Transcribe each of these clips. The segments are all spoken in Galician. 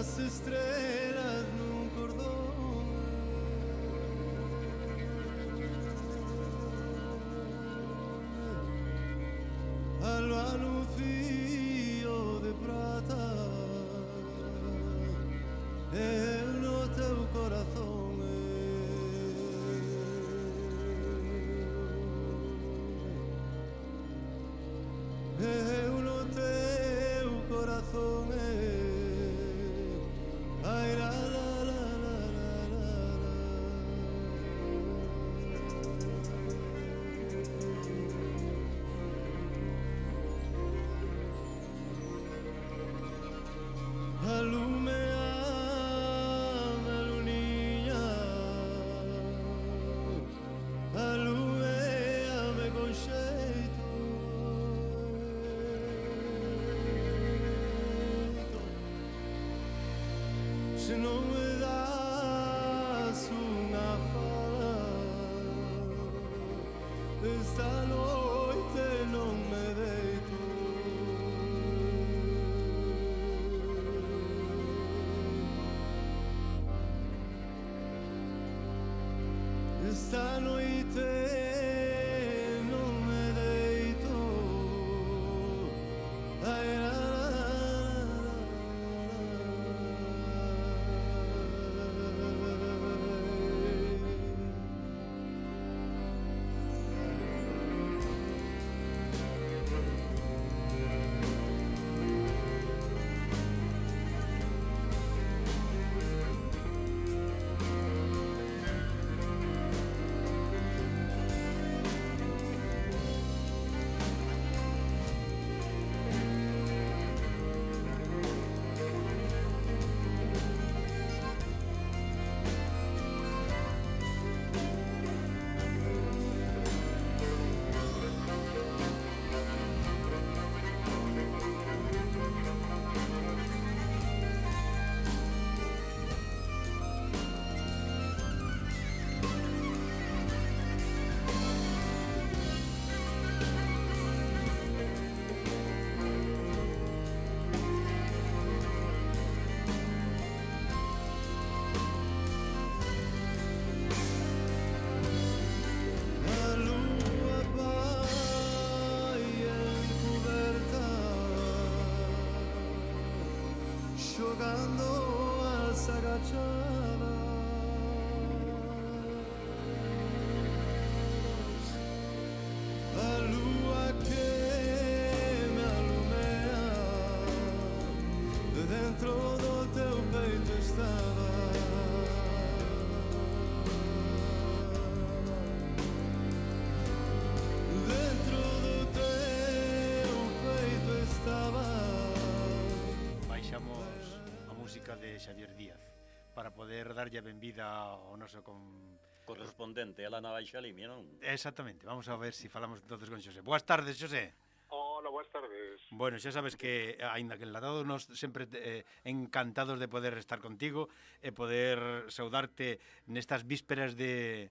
as estrelas nun cordón. Alba nun fío de prata, eu no teu corazón. Eu no teu corazón. Ai, la, la, la, la, la, la. Alumeame, luniña, alumeame con xeito. Se non me das unha fala, esta noite non me deito. Esta noite non me deito. Ai, la, la, la, a lúa vai encuberta, xogando as agachadas. A lúa que me alumea, dentro do teu peito estaba. Dentro do teu peito estaba. Baixamos a música de Xavier Díaz para poder darlle a benvida ao noso correspondente, ela na Baixa Limia, non? Exactamente, vamos a ver se falamos entonces con Xosé. Boas tardes, Xosé. Hola, boas tardes. Bueno, xa sabes que, aínda que enlatado, nos sempre encantados de poder estar contigo e poder saudarte nestas vísperas de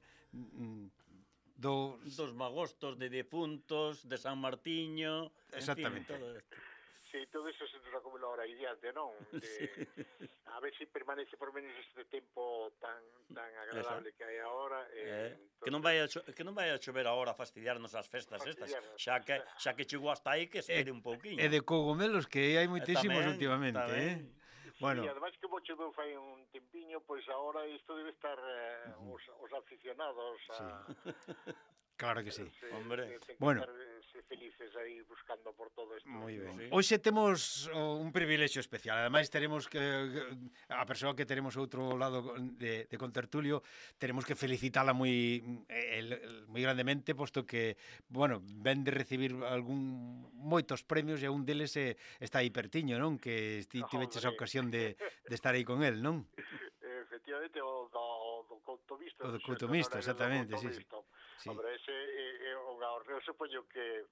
dos magostos de defuntos, de San Martiño, exactamente. En fin, todo esto. Sí, todo eso se nos acumula ahora adiante, non? A ver se permanece por menos este tempo tan agradable que hai agora. Que non vai a chover agora a fastidiarnos as festas estas, xa que chegou hasta aí que espere un pouquiño. E de cogomelos que hai moitísimos tamén, últimamente, tamén. Bueno. Sí, ademais que choveu fai un tempiño, pois agora isto debe estar os aficionados a... Claro que sí. Hombre. Bueno. Ser felices aí buscando por todo isto. Moi ben. Sí. Hoxe temos un privilexio especial. Ademais teremos que a persoa que teremos outro lado de contertulio, teremos que felicitala moi grandemente, posto que, bueno, ven de recibir moitos premios e un deles está aí pertiño, non? Que tiveches a ocasión de estar aí con el, non? Efectivamente, o do Coutomista. O do Coutomista, exactamente, sí. Hombre, ese é un ahorreo, supoño que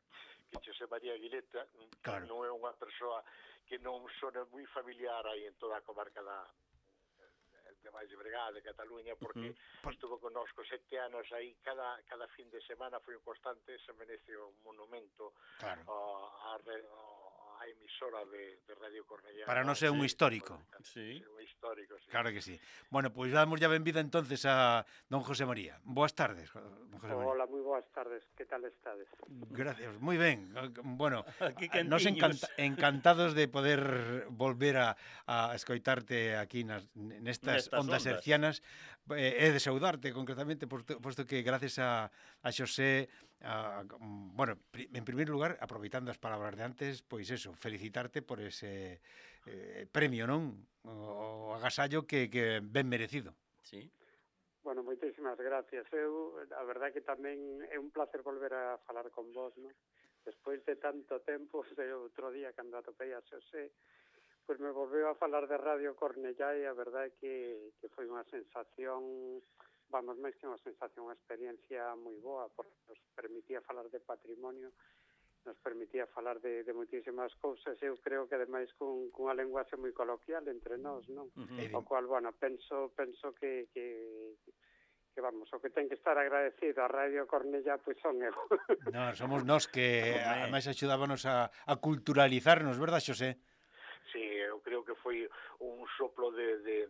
José María Aguileta claro. Non é unha persoa que non sona moi familiar aí en toda a comarca de Valle de Bregá, de Cataluña, porque estuvo connosco 7 anos aí, cada fin de semana foi un constante, se merece un monumento claro. a a emisora de Radio Cornellá. Para non ser un histórico. Sí. Un histórico, sí. Claro que sí. Bueno, pois damos ya benvida entonces a don José María. Boas tardes, don José María. Hola, moi boas tardes. Que tal estades? Gracias, moi ben. Bueno, Aquí nos quentiños. encantados de poder volver a escoitarte aquí nestas ondas hercianas e de saudarte concretamente, posto que gracias a Xosé, bueno, en primeiro lugar, aproveitando as palabras de antes, pois eso, felicitarte por ese premio, non? O agasallo que ben merecido. Sí. Bueno, moitísimas gracias. A verdade que tamén é un placer volver a falar con vos, non? Despois de tanto tempo, de outro día, cando atopei a Xosé, pois me volveu a falar de Radio Cornellá e a verdade que foi unha sensación, vamos, máis que unha sensación, unha experiencia moi boa, porque nos permitía falar de patrimonio, nos permitía falar de moitísimas cousas. Eu creo que ademais cunha lenguaxe moi coloquial entre nós, non? O cual, bueno, penso que vamos, o que ten que estar agradecido a Radio Cornellá, pois son eu. No, somos nós que ademais axudábanos a culturalizarnos, verdad, Xosé? Sí, eu creo que foi un soplo de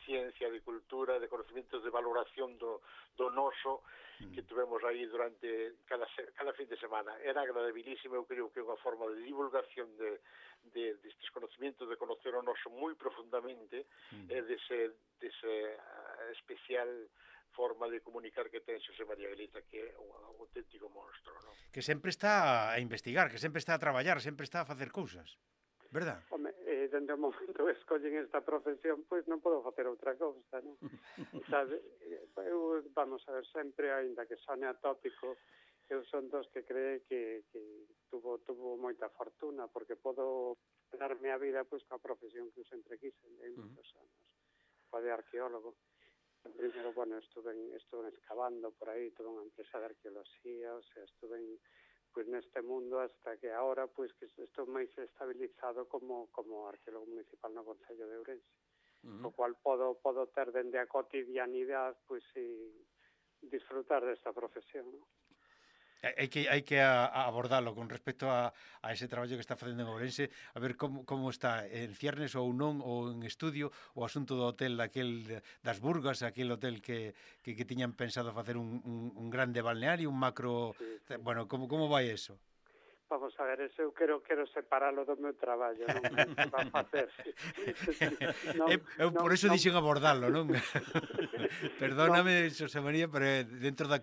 ciencia, de cultura, de conocimientos, de valoración do noso que tuvemos aí durante cada fin de semana. Era agradabilísimo, eu creo que é unha forma de divulgación destes conocimientos, de conocer o noso moi profundamente e dese especial forma de comunicar que ten Xosé María Guelita, que é un auténtico monstro, non? Que sempre está a investigar, que sempre está a traballar, sempre está a facer cousas, verdad? Home, dende o momento que escollen esta profesión, pois non podo facer outra cousa, non? Sabe, eu, vamos a ver, sempre, aínda que sone atópico, eu son dos que cree que tuvo moita fortuna, porque podo darme a vida pois coa profesión que eu sempre quise, en moitos anos, coa de arqueólogo. Primeiro, bueno, estuve excavando por aí, tuve unha empresa de arqueoloxía, o sea, estuve pois neste mundo hasta que agora pois que estou máis estabilizado como arqueólogo municipal no Concello de Ourense. O cual podo ter dende a cotidianidade pois disfrutar desta profesión, non? Hai que abordarlo con respecto a ese traballo que está facendo en Ourense, a ver como está en ciernes ou non, ou en estudio, o asunto do hotel das Burgas, aquel hotel que tiñan pensado facer un grande balneario, un macro... Sí. Bueno, como vai eso? Vamos a ver, eso eu quero separalo do meu traballo, non? Que va a facer. Eu por eso dixen abordarlo, non? Perdóname, Xosé María, pero dentro da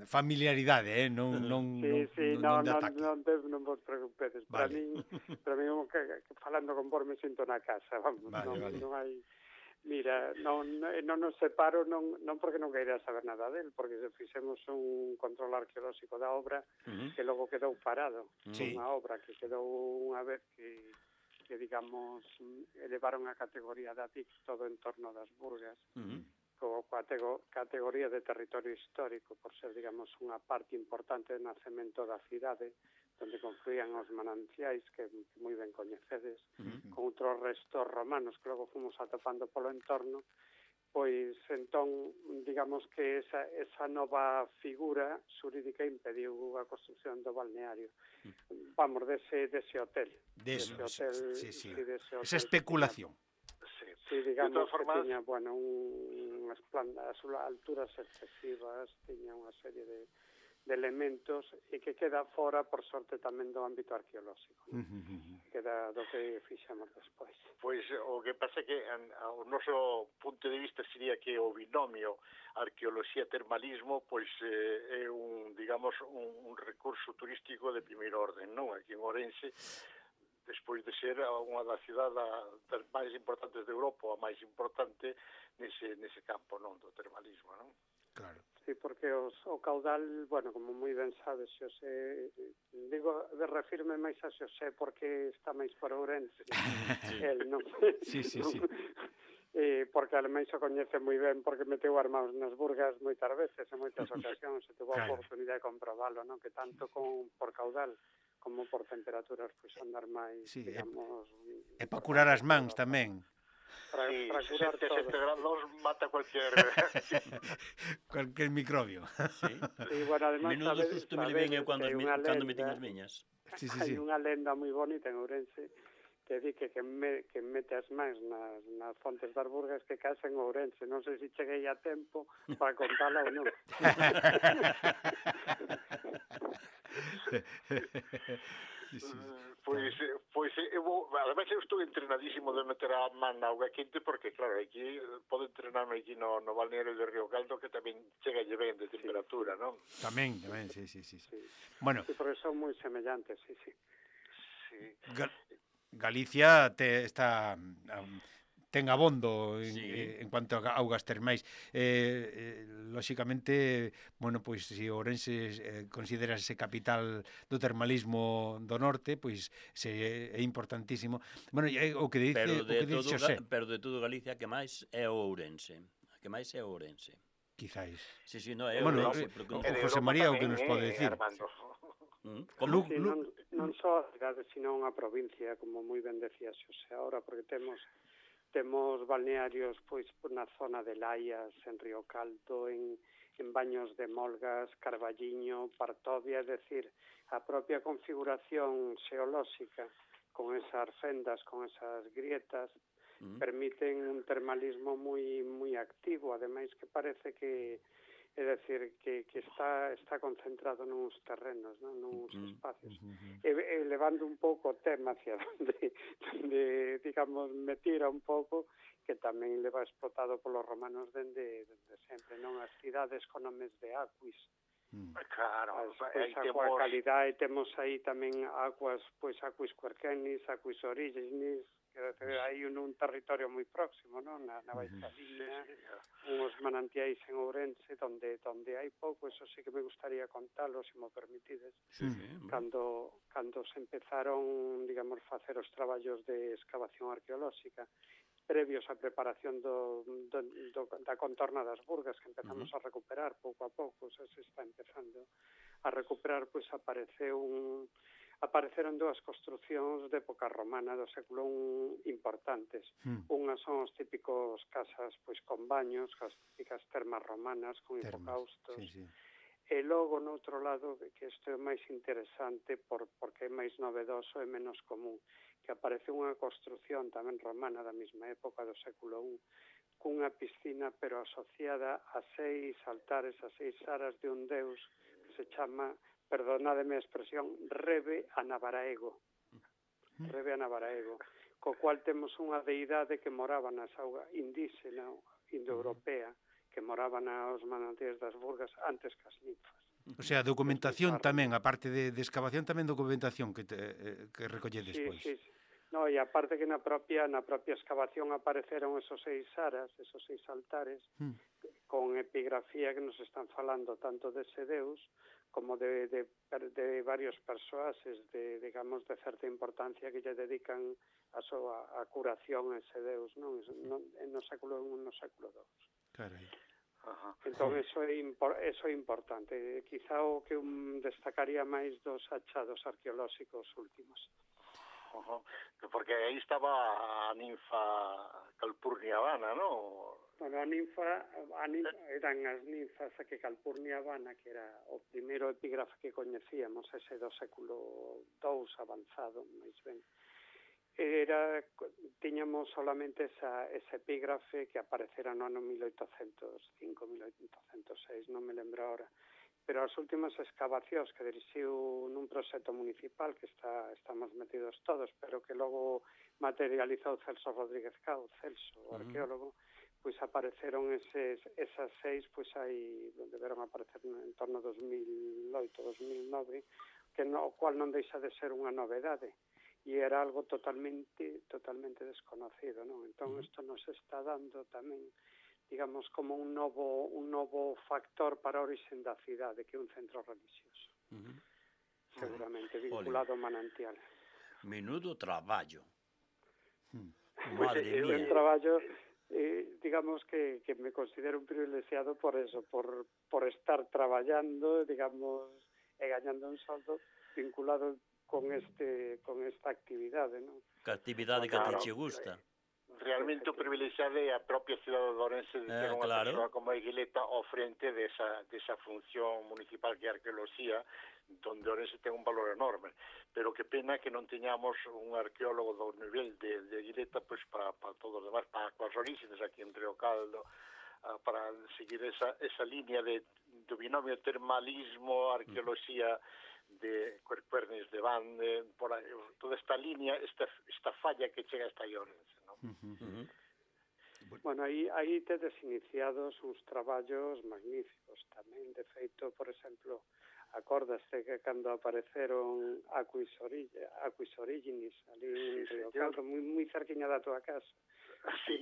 familiaridade, non de ataque. Non vos preocupedes. Vale. Para min, falando con vos me sinto na casa, vamos. Vale. Non hai... Mira, non nos separo, non porque non queira saber nada del, porque fixemos un control arqueolóxico da obra que logo quedou parado. Unha obra que quedou unha vez que digamos, elevaron a categoría da DIC todo en torno das Burgas, como categoría de territorio histórico, por ser, digamos, unha parte importante do nacemento da cidade, onde confluían os mananciais que moi ben coñecedes, con outros restos romanos que logo fomos atopando polo entorno, pois entón, digamos que esa nova figura xurídica impediu a construcción do balneario. Vamos, dese hotel. Dese hotel. Esa especulación. Sí, digamos que tiña, bueno, unhas plantas, alturas excesivas, tiña unha serie de elementos e que queda fora, por sorte, tamén do ámbito arqueolóxico. Queda do que fixamos despois. Pois o que pasa é que o noso punto de vista sería que o binomio arqueoloxía-termalismo pois é digamos, un recurso turístico de primeiro orden, non? Aquí en Ourense, despois de ser unha das cidades das máis importantes de Europa, a máis importante nese campo, non? Do termalismo, non? Claro. Sí, porque o caudal, bueno, como moi ben sabes, Xosé, digo, refirme máis a Xosé porque está máis por Ourense. El, non? Sí. Porque ademais o coñece moi ben porque meteu armados nas Burgas moitas veces, en moitas ocasións, e tuvo a oportunidade de comprobalo, non? Que tanto por caudal como por temperaturas, pois andar máis, digamos... E para curar as mans tamén. para curar 67 todo. grados mata cualquier... Cualquier microbio. Sí. E, bueno, además, Menudo susto me levei eu cando me tiñas miñas. Sí, sí, hai sí. unha lenda moi bonita en Ourense que di que mete as mans nas fontes das Burgas que casa en Ourense. Non sei se cheguei a tempo para contala ou non. Sí, sí. Pois ademais eu estou entrenadísimo de meter a man na auga quente porque claro, aquí podo entrenarme aquí no balneario de Río Caldo que tamén chega ben de temperatura, non? Tamén, sí. Bueno, Sí, porque son moi semellantes, sí. Sí. Galicia ten abondo en cuanto a augas termais. Lóxicamente, bueno, pois se Ourense considerase capital do termalismo do norte, pois é importantísimo. Bueno, o que dice Xosé. Pero de todo Galicia que máis é o Ourense. Que máis é o Ourense. Quizáis. Sí, no, é Bueno, Ourense. o José María o que nos pode decir. Como? Sí, non só a cidade, sino unha provincia, como moi ben decía Xosé ahora, porque temos balnearios pois na zona de Laias, en Río Caldo, en Baños de Molgas, Carballiño, Partovia, é dicir, a propia configuración xeolóxica con esas fendas, con esas grietas, permiten un termalismo moi activo, ademais que parece que é dicir, que está concentrado nuns terrenos, non? Nuns espacios. E levando un pouco o tema hacia donde digamos, me tira un pouco, que tamén leva explotado polos romanos dende sempre, non? As cidades con nomes de aquis. Claro, Pois a calidade, temos aí tamén aquis Querquenis, aquis Origenis, que hai un territorio moi próximo, non? Na Baixa Liña, uns manantiais en Ourense, donde hai pouco, eso sí que me gustaría contalo, se mo permitides. Cando se empezaron, digamos, facer os traballos de excavación arqueolóxica, previos á preparación da contorna das Burgas, que empezamos a recuperar pouco a pouco, se está empezando a recuperar, pois apareceron dúas construcións de época romana do século I importantes. Unhas son os típicos casas pois con baños, as típicas termas romanas con hipocaustos. E logo, no outro lado, que isto é máis interesante porque é máis novedoso e menos común, que aparece unha construción tamén romana da mesma época do século I, cunha piscina pero asociada a 6 altares, a 6 aras de un deus que se chama, perdonádeme a expresión, Rebe a Navaraego, co cual temos unha deidade que moraba nas augas indígena, indoeuropea, que moraba nos manantiais das Burgas antes que as ninfas. O sea, documentación tamén, a parte de excavación, tamén documentación que recolledes despois. Sí. No, e aparte que na propia excavación apareceron esos 6 aras, esos 6 altares, con epigrafía que nos están falando tanto dese deus como de varios persoaxes digamos, de certa importancia que lle dedican a curación a ese deus, non? No século I e no século II. Carai. Entón, eso é importante. Quizá o que destacaría máis dos achados arqueolóxicos últimos. Porque aí estaba a ninfa Calpurnia Vana, non? Bueno, a ninfa eran as ninfas que Calpurnia Vana, que era o primeiro epígrafe que coñecíamos, ese do século II avanzado, máis ben. Tiñamos solamente esa epígrafe que aparecera no ano 1805, 1806, non me lembro ahora. Pero as últimas excavacións que dirixiu nun proxecto municipal que estamos metidos todos, pero que logo materializou Celso Rodríguez Cao, o arqueólogo, pois apareceron esas 6, pois aí deberon aparecer en torno a 2008, 2009, que o cual non deixa de ser unha novedade. E era algo totalmente desconocido, non? Entón, isto nos está dando tamén, digamos, como un novo factor para a orixe da cidade, que é un centro religioso. Seguramente, vinculado ao manantial. Menudo traballo. Madre mía. Un traballo, digamos, que me considero un privilexiado por eso, por estar traballando, digamos, e gañando un soldo vinculado con esta actividade, non? Que actividade que a ti che gusta. realmente o privilexiado é a propia cidade de Ourense de ter unha claro. persoa como a Iguileta ao frente desa función municipal que é a arqueoloxía, donde Ourense ten un valor enorme. Pero que pena que non teñamos un arqueólogo do nivel de Iguileta pois para todos os demás, para as orígenes aquí en Río Caldo, para seguir esa línea do binomio termalismo, arqueoloxía de Cuernes de Bande, por aí, toda esta línea, esta falla que chega hasta Ourense, non? Bueno, aí tedes iniciados uns traballos magníficos tamén. De feito, por exemplo, acordaste que cando apareceron Aquis Originis ali en Río Caldo, moi cerquiña da tua casa. Sí.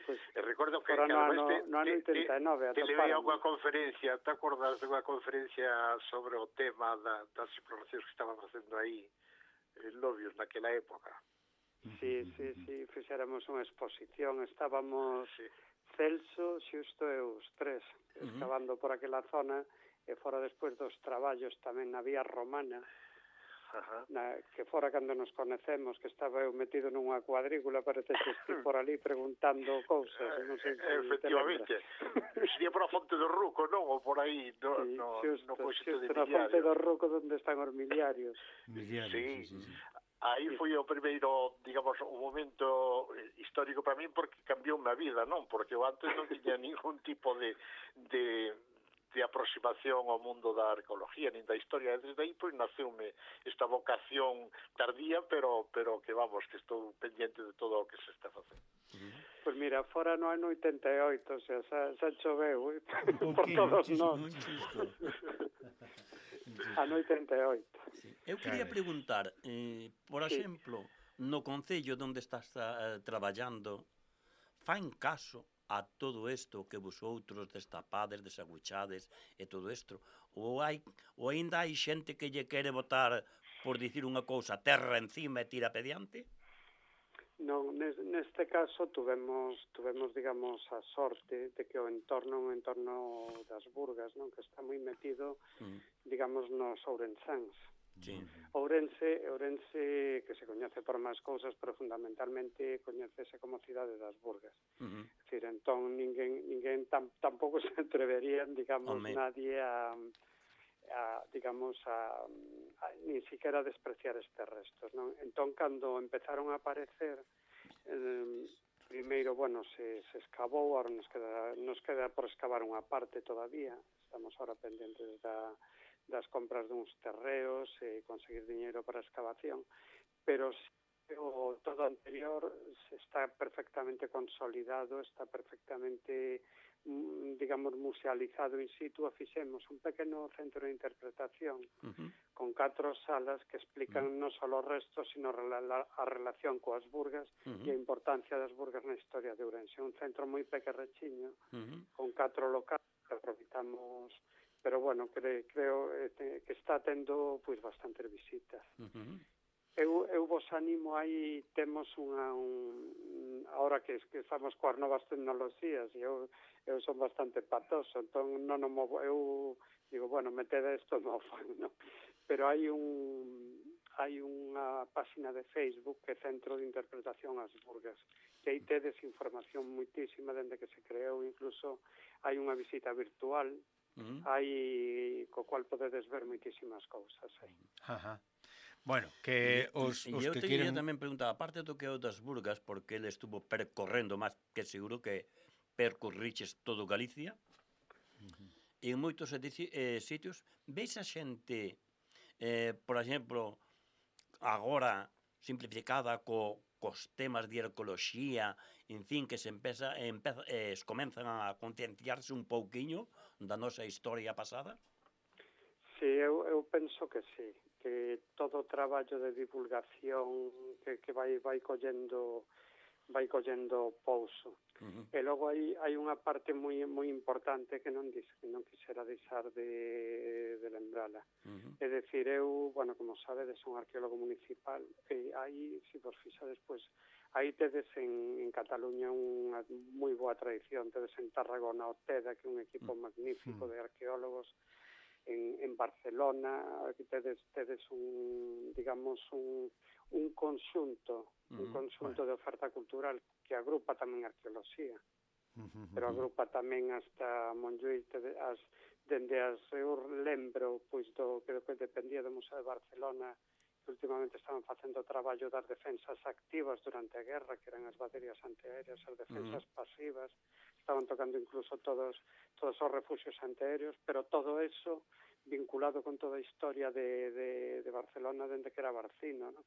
Pues, recordo que no ano 89 te levei a unha conferencia, te acordas de unha conferencia sobre o tema das exploracións que estaban facendo aí en Lobios naquela época? Sí, fixéramos unha exposición, estábamos Celso, Xusto e os tres excavando por aquela zona, e fora despois dos traballos tamén na vía romana, que fora cando nos conecemos, que estaba eu metido nunha cuadrícula, parece que estive por ali preguntando cousas, non sei se efectivamente, sería por a Fonte do Ruco, non? Ou por aí, no coxito de na Fonte do Ruco, onde están os miliarios. Sí. Aí foi o primeiro, digamos, o momento histórico para min, porque cambiou a vida, non? Porque eu antes non tiña ningún tipo de aproximación ao mundo da arqueología, nin da historia. Desde aí, pois, naceume esta vocación tardía, pero que, vamos, que estou pendiente de todo o que se está facendo. Pois mira, fora no ano 88, o sea, xa choveu por todos nós. Ano 88. Sí. Eu quería preguntar, por exemplo, no concello onde estás traballando, fan caso a todo isto que vosotros destapades, desaguchades e todo isto, ou ainda hai xente que lle quere botar, por dicir unha cousa, terra encima e tira pediante? Non, neste caso tuvemos, digamos, a sorte de que o entorno das Burgas, non, que está moi metido, digamos, nos ourensáns. Sí. Ourense, que se coñece por máis cousas, pero fundamentalmente coñecese como cidade das Burgas. É dicir, entón, ninguén tampouco se atreverían, digamos, nadie a ni siquiera despreciar estes restos, non? Entón, cando empezaron a aparecer, primeiro, bueno, se escavou, ahora nos queda por escavar unha parte todavía, estamos ahora pendentes das compras duns terreos e conseguir diñeiro para a excavación, pero todo anterior está perfectamente consolidado, está perfectamente, digamos, musealizado in situ. Fixemos un pequeno centro de interpretación con 4 salas que explican non só os restos, sino a relación coas Burgas e a importancia das Burgas na historia de Ourense. Un centro moi pequerrechiño, con 4 locales que aproveitamos, pero bueno, creo que está tendo pois bastantes visitas. Eu vos animo, aí temos ahora que estamos coas novas tecnoloxías, e eu son bastante patoso, entón non movo, eu digo, bueno, metede isto no fan, non? Pero hai unha página de Facebook que é Centro de Interpretación ás Burgas, que aí tedes información muitísima dende que se creou, incluso hai unha visita virtual, hai co cual podedes ver muitísimas cousas aí. Bueno, que os que queren... quería tamén preguntar, aparte do que é o das Burgas, porque ele estuvo percorrendo máis que seguro que percorriches todo Galicia, en moitos sitios, veis a xente, por exemplo, agora simplificada cos temas de arqueoloxía, en fin, que comenzan a concienciarse un pouquiño da nosa historia pasada? Sí, eu penso que sí, que todo o traballo de divulgación que vai collendo pouso. E logo hai unha parte moi importante que non quixera deixar de lembrala. É dicir, eu, bueno, como sabedes, son arqueólogo municipal, e aí, se vos fixades, pois, aí tedes en Cataluña unha moi boa tradición, tedes en Tarragona o TEDA, que é un equipo magnífico de arqueólogos, en Barcelona aquí tedes un, digamos, un conxunto de oferta cultural que agrupa tamén arqueoloxía, pero agrupa tamén hasta Montjuïc, eu lembro pois do que dependía do Museo de Barcelona, que últimamente estaban facendo o traballo das defensas activas durante a guerra, que eran as baterías antiaéreas, as defensas pasivas, estaban tocando incluso todos os refugios antiaéreos, pero todo eso vinculado con toda a historia de Barcelona dende que era Barcino, ¿no?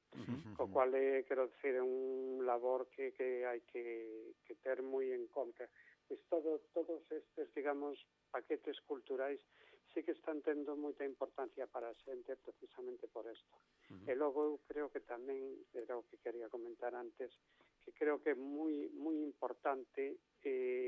Co cual, quero dicir, é un labor que hai que ter moi en conta. Pois todos estes, digamos, paquetes culturais sí que están tendo moita importancia para a xente precisamente por isto. E logo eu creo que tamén, era o que quería comentar antes, que creo que é moi importante,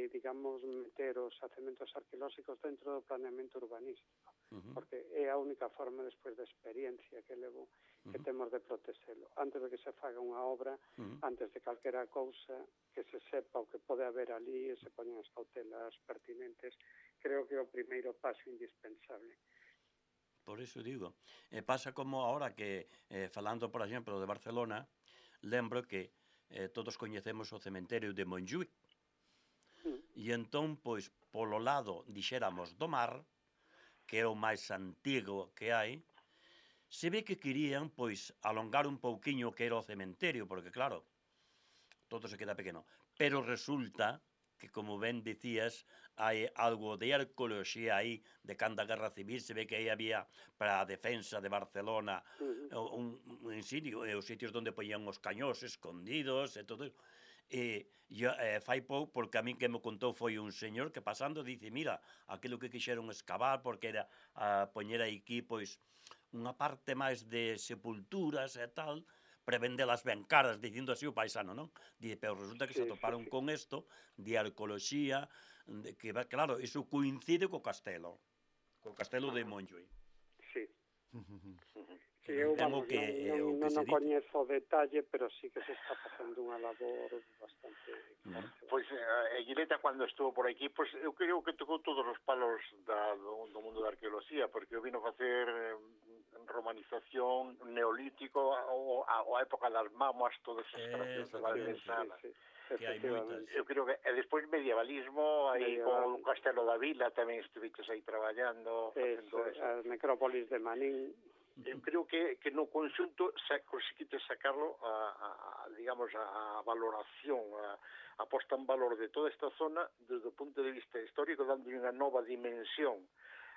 digamos, meter os xacementos arqueolóxicos dentro do planeamento urbanístico, porque é a única forma, despois da experiencia que levo, que temos de protexelo. Antes de que se faga unha obra, antes de calquera cousa, que se sepa o que pode haber ali e se poñen as cautelas pertinentes, creo que é o primeiro paso indispensable. Por iso digo, pasa como ahora que, falando, por exemplo, de Barcelona, lembro que todos coñecemos o cementerio de Montjuïc, e entón, pois, polo lado, dixéramos, do mar, que é o máis antigo que hai, se ve que querían, pois, alongar un pouquiño que era o cementerio, porque, claro, todo se queda pequeno. Pero resulta que, como ben dicías, hai algo de arqueoloxía aí, de cando a Guerra Civil, se ve que aí había para a defensa de Barcelona un sitio, os sitios onde poñían os cañós escondidos e todo eso. E fai pouco, porque a min que me contou foi un señor que pasando dice, mira, aquilo que quixeron escavar, porque era a poñer aquí, pois, unha parte máis de sepulturas e tal, para vendelas ben caras, dicindo así o paisano, non? Dice, pero resulta que se atoparon con isto de arqueoloxía, que, claro, iso coincide co castelo de Montjuïc. Sí. Sí, eu, vamos, non coñezo o detalle, pero sí que se está facendo unha labor bastante forte. Pois, Guileta, cando estuvo por aquí, pois, eu creo que tocou todos os palos do mundo da arqueoloxía, porque eu vino facer romanización, neolítico, a época das mamas, todas as instalacións de Valdesanas. Que hai moitas. Eu creo que, e despois medievalismo, aí con o Castelo da Vila tamén estuviches aí traballando. As necrópolis de Manín. Eu creo que no conxunto conseguiste sacarlo digamos, a valoración, a posta en valor de toda esta zona desde o punto de vista histórico, dando unha nova dimensión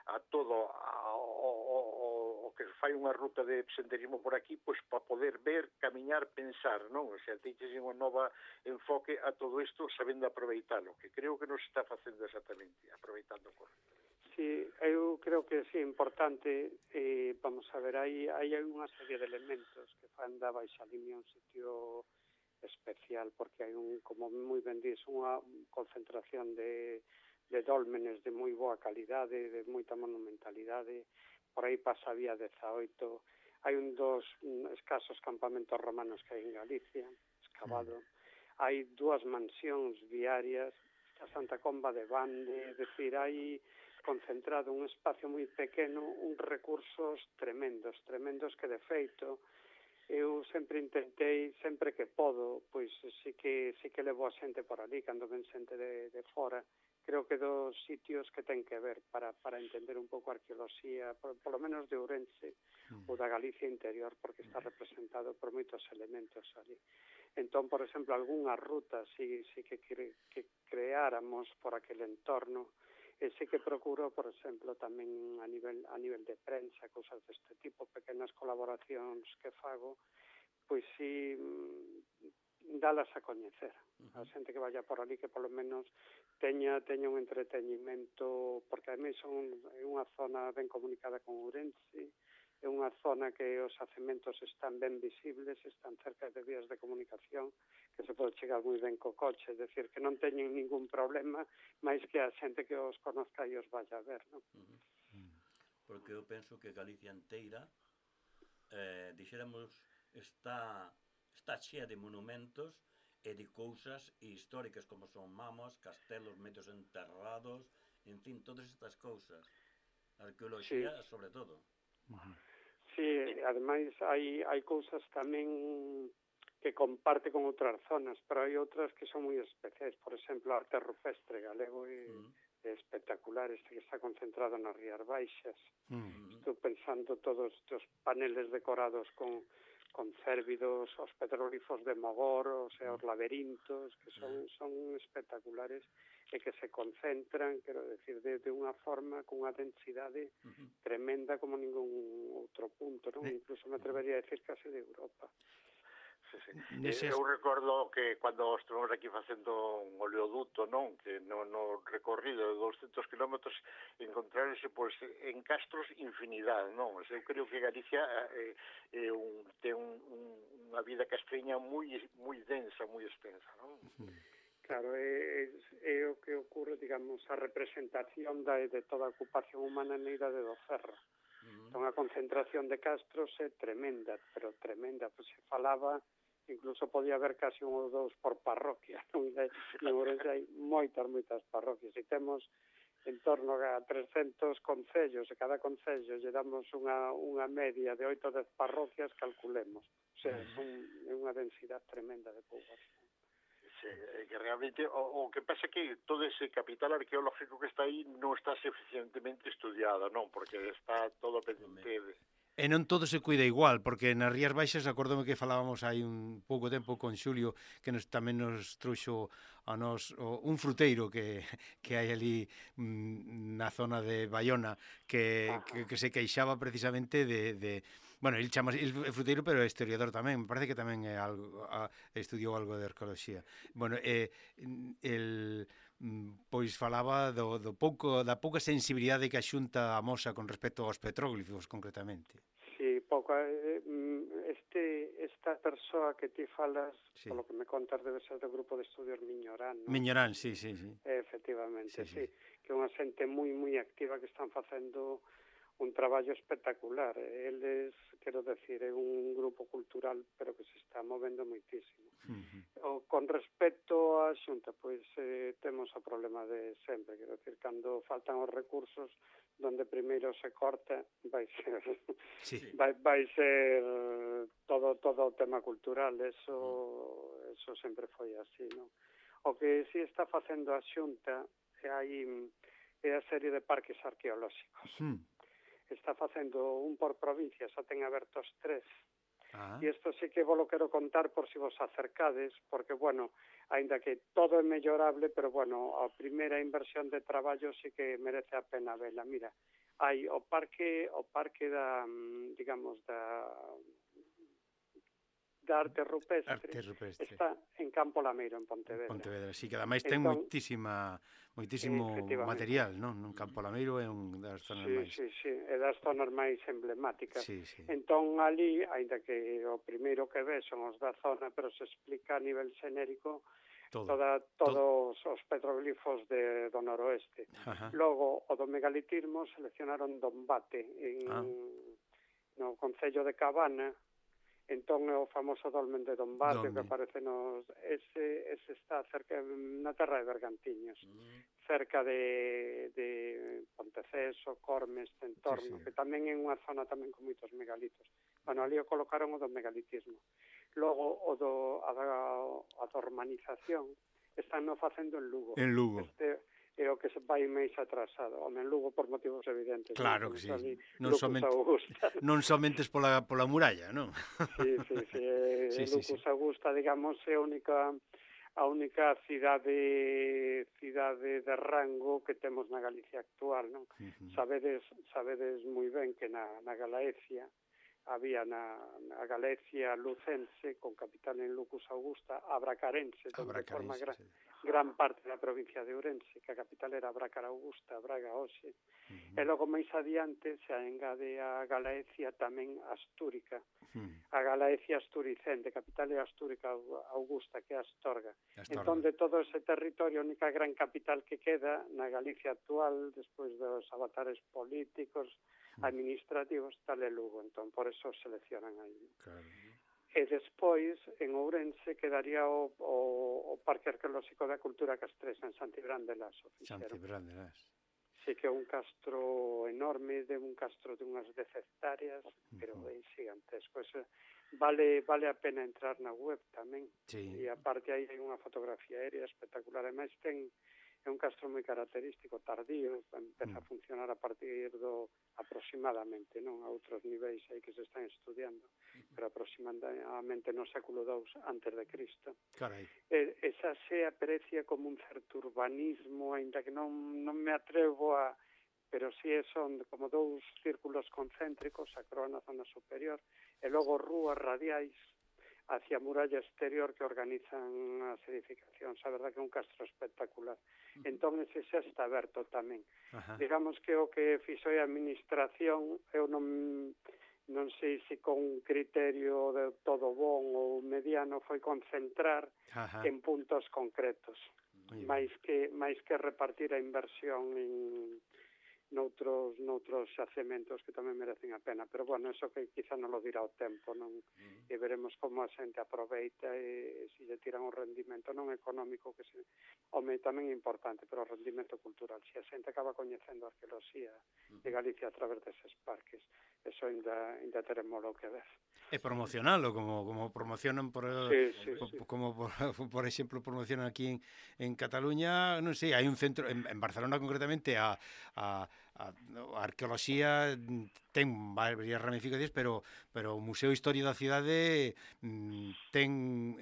a todo o que fai unha ruta de senderismo por aquí, pois para poder ver, camiñar, pensar, non? O sea, teiches unha nova enfoque a todo isto sabendo aproveitalo, que creo que nos está facendo exactamente, aproveitando o correcto. Sí, eu creo que sí, importante, vamos a ver, hai unha serie de elementos que fan da Baixa Limia un sitio especial, porque hai como moi ben dís, unha concentración de dólmenes de moi boa calidade, de moita monumentalidade. Por aí pasa a vía 18, hai dos escasos campamentos romanos que hai en Galicia, excavado, hai 2 mansións viarias, a Santa Comba de Bande, é dicir, hai concentrado un espacio moi pequeno, uns recursos tremendos que de feito eu sempre intentei, sempre que podo, pois sí que levo a xente por ali, cando ven xente de fora, creo que dos sitios que ten que ver para entender un pouco a arqueoloxía, por lo menos de Ourense ou da Galicia interior, porque está representado por moitos elementos ali. Entón, por exemplo, algunhas rutas sí que creáramos por aquel entorno, e sí que procuro, por exemplo, tamén a nivel de prensa, cousas deste tipo, pequenas colaboracións que fago, pois sí dalas a coñecer. A xente que vaya por ali que polo menos teña un entreteñimento, porque ademais é unha zona ben comunicada con Ourense, é unha zona que os xacementos están ben visibles, están cerca de vías de comunicación, que se pode chegar moi ben co coche, é dicir, que non teñen ningún problema, máis que a xente que os conozca e os vaya a ver, non? Porque eu penso que Galicia inteira, dixéramos, está chea de monumentos e de cousas históricas como son mamas, castelos medios enterrados, en fin, todas estas cousas. Arqueoloxía, sobre todo. Sí, ademais hai cousas tamén que comparte con outras zonas, pero hai outras que son moi especiais. Por exemplo, a arte rupestre galego é espectacular, este que está concentrado nas Rías Baixas. Estou pensando todos os paneles decorados con cérvidos, os petroglifos de Mogor, os laberintos, que son espectaculares e que se concentran, quero decir, de unha forma, con unha densidade tremenda como ningún outro punto, non? Incluso me atrevería a decir case de Europa. Sí. Eu recordo que cando estivemos aquí facendo un oleoduto, non, que no recorrido de 200 kilómetros encontraronse pois en castros infinidade, non? Eu creo que Galicia ten unha vida castreña moi densa, moi extensa, non? Claro, é o que ocurre, digamos, a representación de toda a ocupación humana na Idade do Ferro. Entón, a concentración de castros é tremenda, pero tremenda, pois se falaba, incluso podía haber casi un ou dous por parroquia, non? En Ourense hai moitas parroquias, e temos en torno a 300 concellos, e cada concello lle damos unha media de 8 ou 10 parroquias, calculemos. O sea, é unha densidade tremenda de poboación. Sí, que realmente o que pasa é que todo ese capital arqueológico que está aí non está suficientemente estudiado, non? Porque está todo pendente de... E non todo se cuida igual, porque nas Rías Baixas, acordome que falábamos hai un pouco tempo con Xulio, que tamén nos trouxo a nos un fruteiro que hai ali na zona de Baiona, que se queixaba precisamente de bueno, el chama el fruteiro, pero é historiador tamén, me parece que tamén é algo estudiou algo de arqueoloxía. Bueno, pois falaba da pouca sensibilidade que a Xunta amosa con respecto aos petróglifos, concretamente. Sí, pouco. Esta persoa que ti falas, polo que me contas, debe ser do grupo de estudios Miñorán, non? Miñorán, sí. Efectivamente, sí. Que é unha xente moi activa que están facendo un traballo espectacular. Eles, quero decir, é un grupo cultural, pero que se está movendo moitísimo. Con respecto á Xunta, pois temos o problema de sempre, quero decir, cando faltan os recursos, donde primeiro se corta, vai ser todo o tema cultural, eso sempre foi así, non? O que si está facendo a Xunta é a serie de parques arqueolóxicos. Está facendo un por provincia, xa ten abertos 3. E isto sí que vos lo quero contar por si vos acercades, porque, bueno, aínda que todo é mellorable, pero, bueno, a primeira inversión de traballo sí que merece a pena vela. Mira, hai o parque da, digamos, da arte rupestre, está en Campo Lameiro, en Pontevedra. Sí, que ademais ten moitísimo material, non? En Campo Lameiro é un das zonas máis... Sí, é das zonas máis emblemáticas. Entón, ali, ainda que o primeiro que ves son os da zona, pero se explica a nivel xenérico todos os petroglifos do noroeste. Logo, o do megalitismo seleccionaron Dombate no concello de Cabana. Entón é o famoso dolmen de Dombate que aparece ese está cerca na terra de Bergantiños, cerca de Ponteceso, Corme, este entorno, que tamén é unha zona tamén con moitos megalitos. Bueno, ali o colocaron o do megalitismo. Logo a da urbanización están facendo en Lugo. En Lugo. É o que se vai máis atrasado. Home, en Lugo por motivos evidentes. Claro que sí. Non somente pola muralla, non? Sí. Lucus Augusta, digamos, é a única cidade de rango que temos na Galicia actual, non? Sabedes moi ben que na Galaecia había na Galicia lucense, con capital en Lucus Augusta, a bracarense, donde forma gran parte da provincia de Ourense, que a capital era Brácara Augusta, Braga hoxe. E logo máis adiante se engade a Galaecia tamén astúrica, a Galaecia asturicente, capital é Astúrica Augusta, que é Astorga. Entón, de todo ese territorio, a única gran capital que queda na Galicia actual, despois dos avatares políticos, administrativos, tal é Lugo. Entón, por eso seleccionan aí. E despois, en Ourense, quedaría o Parque Arqueolóxico da Cultura Castresa, en Santibrán de Las. Santibrán de Las. sí que é un castro enorme, de un castro de unhas 10 hectáreas, pero é gigantesco. Eso, vale a pena entrar na web tamén. Sí. E aparte aí hai unha fotografía aérea espectacular. Ademais é un castro moi característico, tardío, empeza a funcionar a partir do aproximadamente, non a outros niveis aí que se están estudiando, pero aproximadamente no século II antes de Cristo. Carai. Esa se aprecia como un certo urbanismo, aínda que non me atrevo a... pero si son como dous círculos concéntricos, a croa na zona superior, e logo rúas radiais hacia a muralla exterior que organizan as edificacións. A verdad que é un castro espectacular. Entón, ese xa está aberto tamén. Ajá. Digamos que o que fixo a administración, eu non sei se con criterio de todo bon ou mediano, foi concentrar en puntos concretos, máis que repartir a inversión noutros xacementos que tamén merecen a pena, pero bueno, eso que quizá non lo dirá o tempo, non? E veremos como a xente aproveita e se lle tiran o rendimento non económico, que tamén é importante, pero o rendimento cultural. Se a xente acaba coñecendo a arqueoloxía de Galicia a través deses parques, eso ainda teremos lo que ver. E promocionalo, como promocionan como por exemplo promocionan aquí en Cataluña, non sei, hai un centro en Barcelona concretamente a arqueoloxía ten varias ramificacións, pero o Museo de Historia da Cidade ten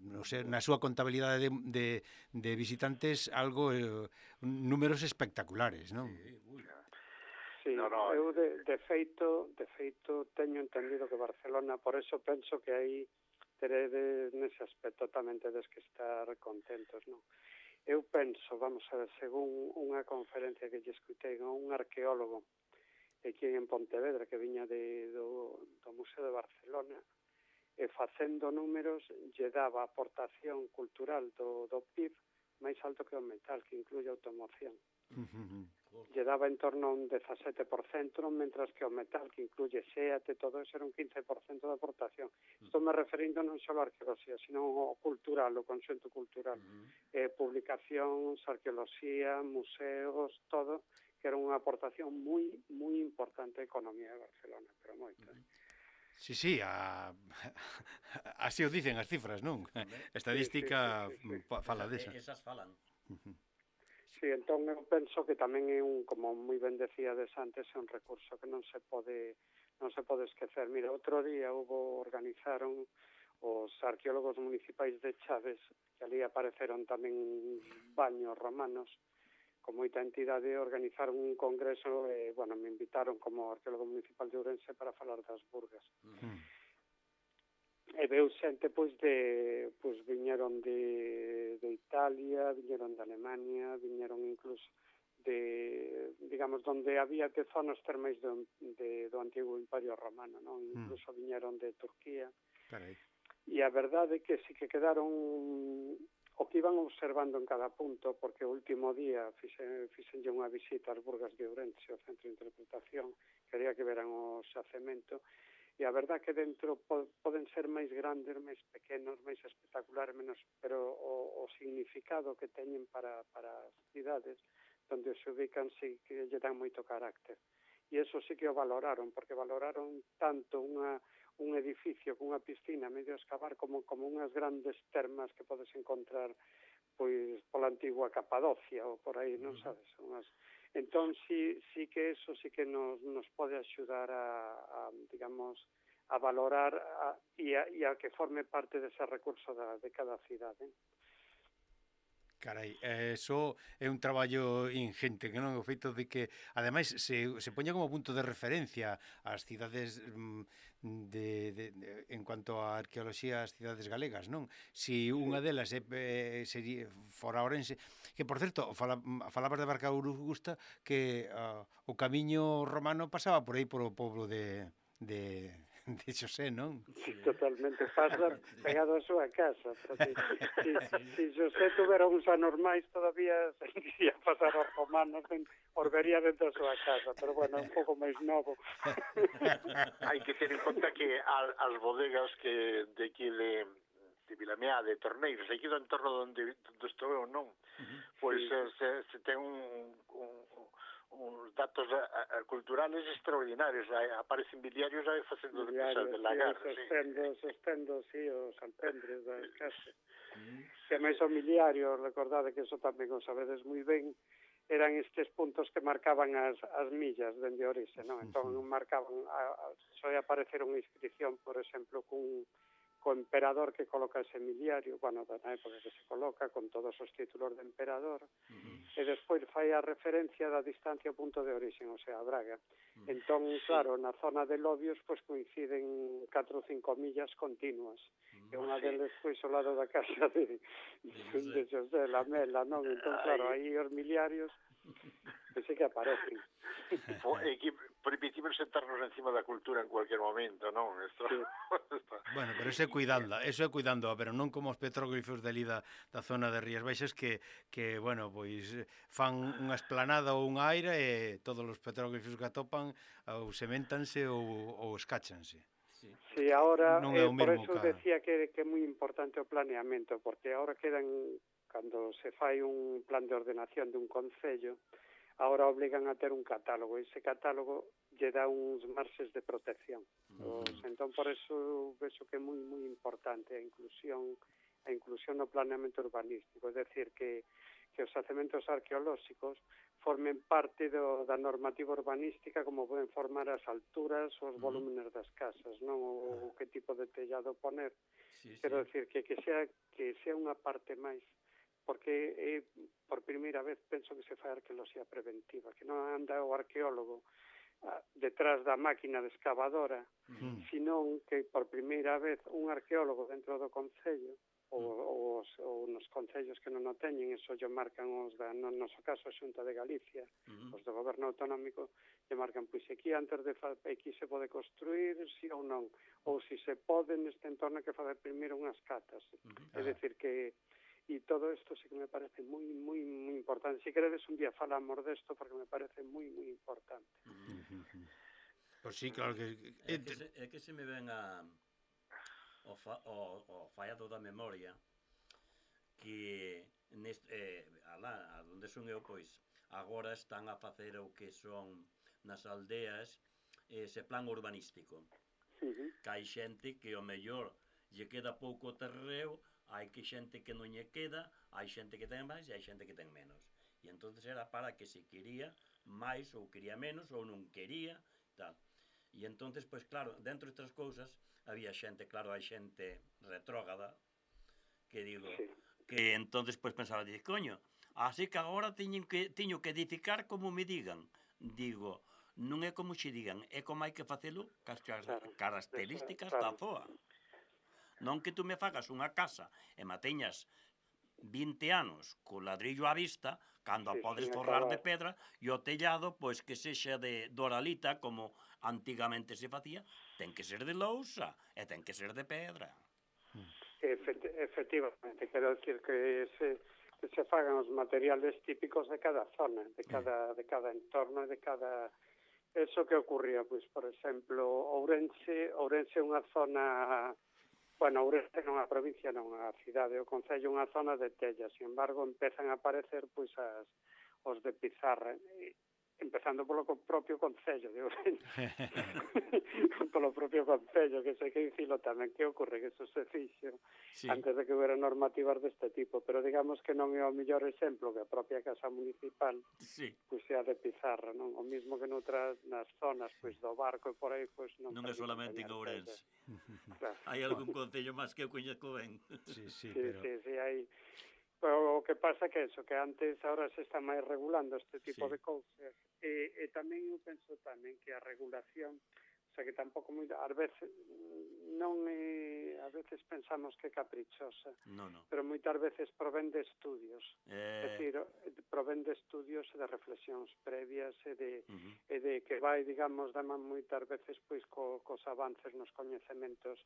non sei, na súa contabilidade de visitantes algo números espectaculares, non? Sí, eu de feito teño entendido que Barcelona, por eso penso que aí teredes nese aspecto tamén tedes que estar contentos, non? Eu penso, vamos a ver, según unha conferencia que lle escutei a un arqueólogo aquí en Pontevedra que viña do Museo de Barcelona, e facendo números lle daba a aportación cultural do PIB máis alto que o metal, que incluye automoción. Lle daba en torno a un 17%, mentras que o metal, que incluye SEAT e todo eso, era un 15% de aportación. Estou me referindo non só a arqueoloxía, sino ao cultural, o conxunto cultural. Publicacións, arqueoloxía, museos, todo, que era unha aportación moi importante á economía de Barcelona, pero moito. Sí, así o dicen as cifras, non? Estadística fala desa. Esas falan. Sí, entón eu penso que tamén é como moi ben decíades antes, é un recurso que non se pode esquecer. Mira, outro día organizaron os arqueólogos municipais de Chaves, que ali apareceron tamén baños romanos, con moita entidade, organizaron un congreso e, me invitaron como arqueólogo municipal de Ourense para falar das burgas. E veu xente, viñeron de Italia, viñeron de Alemania, viñeron incluso digamos, donde había que zonas termais do antigo Imperio Romano, non? Incluso viñeron de Turquía. Carai. E a verdade é que sí que quedaron o que iban observando en cada punto, porque o último día fixenlle unha visita ás burgas de Ourense, ao centro de interpretación, quería que veran o xacemento, e a verdade que dentro poden ser máis grandes, máis pequenos, máis espectaculares, pero o significado que teñen para as cidades onde se ubican sí que lle dan moito carácter. E eso sí que o valoraron, porque valoraron tanto un edificio cunha piscina medio escavar como unhas grandes termas que podes encontrar pola antigua Capadocia ou por aí, non sabes? Entón, sí que eso sí que nos pode axudar a digamos, a valorar e a que forme parte dese recurso de cada cidade. Carai, eso é un traballo ingente, que non o feito de que, ademais, se poña como punto de referencia as cidades en cuanto a arqueoloxía, as cidades galegas, non? Si unha delas sería fora Ourense, que, por certo, falabas de Barca Augusta, que o camiño romano pasaba por aí por o pobo de Xosé, non? Sí, totalmente, pasa pegado a súa casa, pero si Xosé tuvera uns anormais todavía seguiría pasar aos romanos, os vería dentro da súa casa, pero bueno, un pouco máis novo. Hai que ter en conta que as bodegas que de aquí de Vilameá, de Torneiros, aquí do entorno onde estou eu, non? Pois se ten uns datos culturales extraordinarios. Aparecen biliarios aí facendo de pesar de lagar. Sostendo, sí, os alpendres da casa. Que máis o miliario, recordade que eso tamén o sabedes moi ben, eran estes puntos que marcaban as millas dende orixe, non? Entón marcaban, soe aparecer unha inscripción, por exemplo, co emperador que coloca ese miliario, bueno, na época que se coloca, con todos os títulos de emperador, e despois fai a referencia da distancia ao punto de orixe, o sea, a Braga. Entón, claro, na zona de Lobios, pois coinciden 4 ou 5 millas continuas, e unha deles, pois, ao lado da casa de José Lamela, non? Entón, claro, aí os miliarios, que sí que aparecen. E que permitimos sentarnos encima da cultura en cualquier momento, non? Esto... Sí. Bueno, pero eso é cuidando, pero non como os petróglifos de ali da zona de Rías Baixas que bueno, pois fan unha esplanada ou unha aira e todos os petróglifos que atopan ou sementanse ou escáchanse. Sí, ahora, non é o por mesmo eso decía que é moi importante o planeamento, porque ahora quedan, cando se fai un plan de ordenación dun concello, ahora obligan a ter un catálogo, e ese catálogo lle dá uns marxes de protección. Entón, por eso, vexo que é moi importante a inclusión no planeamento urbanístico, é decir, que os xacementos arqueolóxicos formen parte da normativa urbanística, como poden formar as alturas, os volúmenes das casas, non? O que tipo de tellado poner. Quero decir, que sea unha parte máis, porque por primeira vez penso que se fai arqueoloxía preventiva, que non anda o arqueólogo detrás da máquina de excavadora, senón que por primeira vez un arqueólogo dentro do concello, ou nos concellos que non o teñen, eso lle marcan no noso caso a Xunta de Galicia, os do goberno autonómico, lle marcan, pois aquí antes de aquí se pode construir, si ou non, ou si se pode neste entorno que fazer primeiro unhas catas. É dicir que e todo isto sí que me parece moi importante. Si queredes un día falamos desto porque me parece moi importante. Pois sí, claro que... É que se me ven o fallado da memoria que alá onde son eu, pois agora están a facer o que son nas aldeas ese plan urbanístico. Que hai xente que o mellor lle queda pouco terreo, hai que xente que non lle queda, hai xente que ten máis e hai xente que ten menos. E entonces era para que se quería máis ou quería menos ou non quería, tal. E entonces, pois claro, dentro destas cousas había xente, claro, hai xente retrógrada que digo, que entonces pois pensaba, coño, así que agora teño que edificar como me digan. Digo, non é como xe digan, é como hai que facelo cas características da zoa. Non que tú me fagas unha casa e mateñas 20 anos co ladrillo á vista, cando a podes forrar de pedra, e o tellado, pois que sexa de doralita, como antigamente se facía, ten que ser de lousa e ten que ser de pedra. Efectivamente, quero decir que se fagan os materiales típicos de cada zona, de cada entorno, de cada... Eso que ocurría, pois, por exemplo, Ourense é unha zona... Bueno, Ourense non é a provincia, non a cidade, o concello é unha zona de tella, sin embargo, empezan a aparecer pois os de pizarra, empezando polo propio concello de Ourense. Polo propio concello, que sei que dicilo tamén, que ocorre que eso se fixo antes de que hubiera normativas deste tipo, pero digamos que non é o mellor exemplo que a propia Casa Municipal pois sea de pizarra, non? O mismo que noutras nas zonas pois do Barco e por aí pois non é solamente en Ourense. Claro. Hai algún concello máis que eu coñezco ben. Sí, hai. O que pasa que eso, que antes ahora se está máis regulando este tipo de cousas. E tamén eu penso tamén que a regulación, o sea, que tampouco ás veces non é, ás veces pensamos que é caprichosa, pero moitas veces provén de estudios, é dicir, provén de estudios e de reflexións previas e de que vai, digamos, daman moitas veces pois cos avances nos coñecementos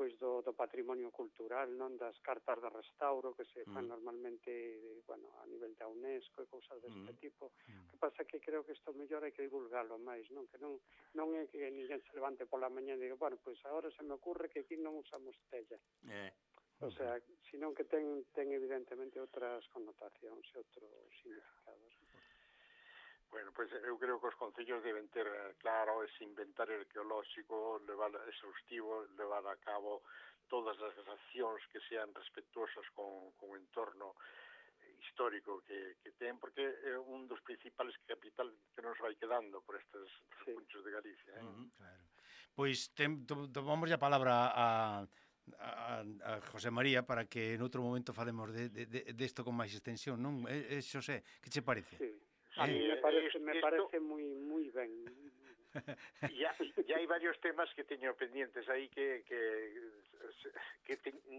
pois do patrimonio cultural, non, das cartas de restauro que se fan normalmente, bueno, a nivel da UNESCO e cousas deste tipo. O que pasa que creo que isto mellor hai que divulgalo máis, non? Que non é que ninguén se levante pola mañá e diga, bueno, pois agora se me ocurre que aquí non usamos tella. O sea, senón que ten evidentemente outras connotacións e outros significados. Bueno, pois eu creo que os concellos deben ter claro ese inventario arqueolóxico, levar exhaustivo, levar a cabo todas as accións que sean respetuosas con o entorno histórico que ten, porque é un dos principales capitales que nos vai quedando por estes puntos de Galicia. Claro. Pois tomamos a palabra a José María para que en outro momento falemos desto con máis extensión, non? Xosé, que che parece? Sí. A mí me parece moi ben. Ya hai varios temas que teño pendientes aí que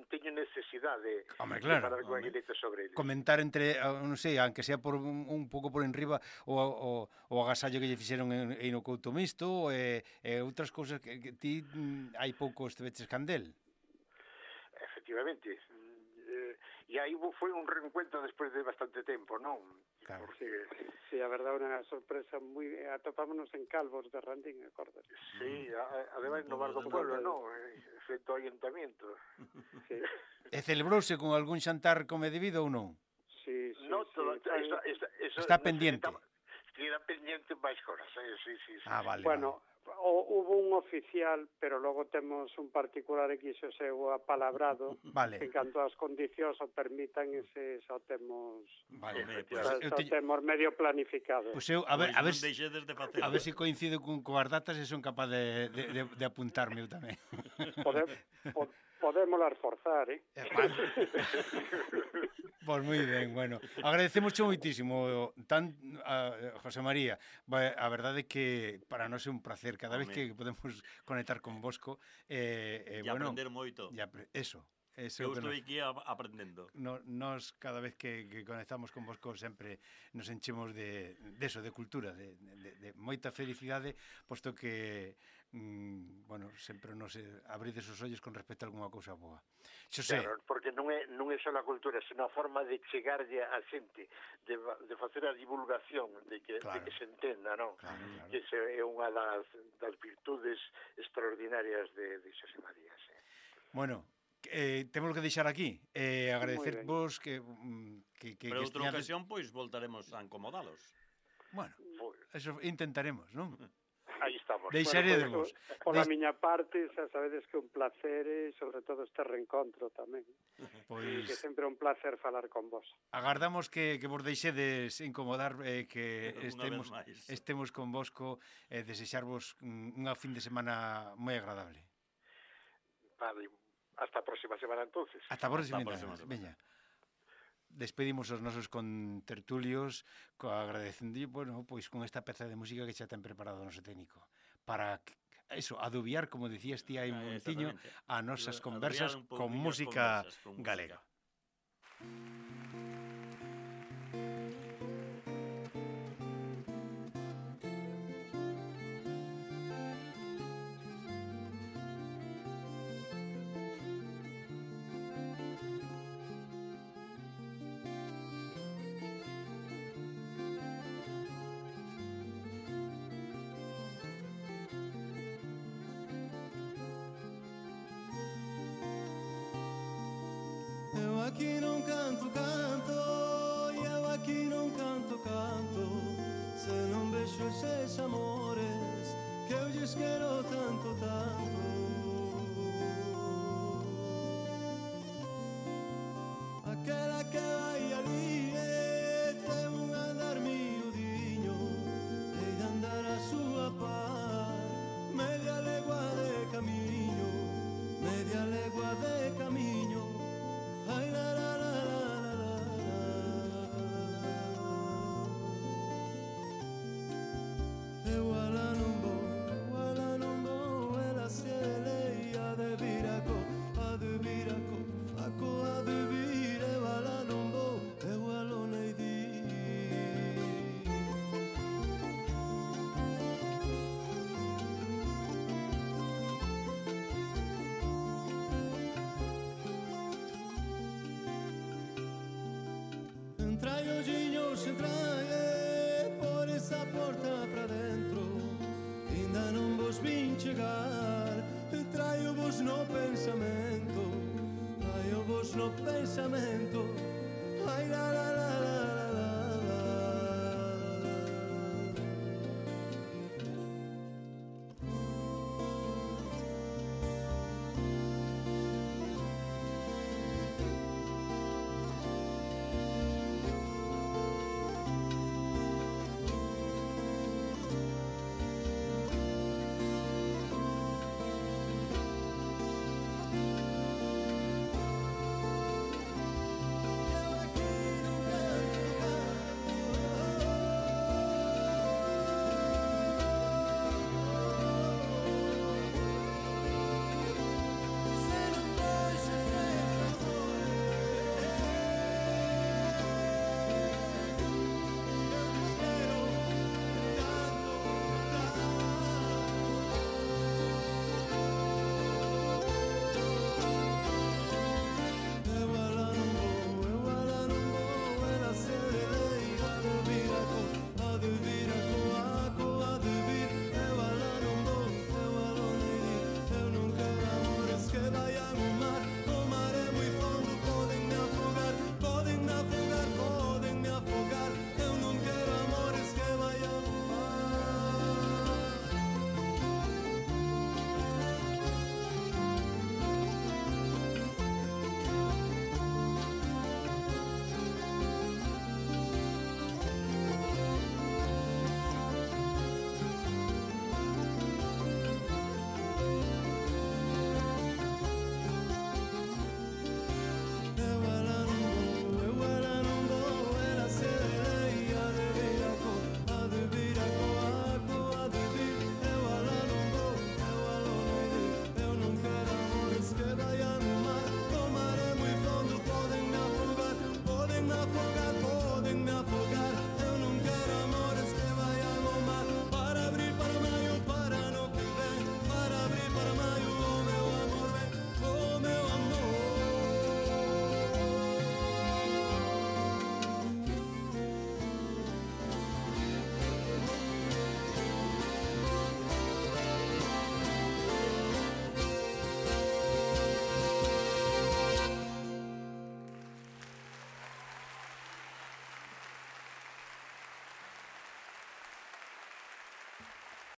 teño necesidade de falar con Aguilete sobre eles. Comentar entre, non sei, aunque sea por un pouco por enriba o agasallo que lle fixeron en o Couto Misto e outras cousas que ti hai pouco esteveches candel. Efectivamente. E aí foi un reencuentro despois de bastante tempo, non? Claro. Porque... Sí, a verdade, unha sorpresa moi... Atopámonos en Calvos de Randín, acordas? Sí, ademais no bar do pueblo, non? Frente ao ayuntamiento. Sí. E celebrouse con algún xantar come debido ou non? Sí. No, Está pendiente. Queda pendiente máis cosas, sí. Vale. Bueno, hubo un oficial, pero logo temos un particular que xo seu apalabrado, vale. En canto as condicións o permitan, ese xa temos... Vale, temos medio planificado. Pois eu, a ver se coincido con coas datas e son capaz de apuntarme eu tamén. Podemos reforzar, Vale. Pois moi ben, bueno. Agradecemos moitísimo a José María. A verdade é que para nós é un placer cada vez que podemos conectar con vosco. E aprender moito. Eso. Eu estou aquí aprendendo. Nos cada vez que conectamos con vosco sempre nos enchemos de cultura, de moita felicidade, posto que sempre nos abrides os ollos con respecto a algunha cousa boa. Claro, porque non é só a cultura, senón a forma de chegarlle a xente, de facer a divulgación, de que se entenda, non? Claro. Que é unha das virtudes extraordinarias de Xosé María. Bueno, temos que deixar aquí. Agradecervos que pero outra ocasión, pois, voltaremos a incomodalos. Bueno, eso intentaremos, non? Aí estamos. Deixaremos. Pola miña parte, xa sabedes que un placer e, sobre todo, este reencontro tamén. Pois... Que sempre é un placer falar con vos. Agardamos que vos deixedes incomodar, que estemos con vosco, desexarvos unha fin de semana moi agradable. Vale, hasta a próxima semana, entonces. Hasta a próxima semana. Veña. Despedimos os nosos contertulios agradecendo, pois con esta peza de música que xa ten preparado o noso técnico para adubiar, como decías ti hai un montiño, a nosas conversas con música galega. Eu aqui non canto, e eu aqui non canto, se non vexo eses amores que eu lles quero tanto. Aquela que vai ali ten un andar miudiño e de andar a súa par, media legua de camiño, ai la la la la la la. Eu ala non vou, ela se leia de viraco, a de vir, eu ala non vou, eu alo nei di. Entrai hoxiños, por esa porta pra dentro, ainda non vos vin chegar, traio vos no pensamento, ai la la la la.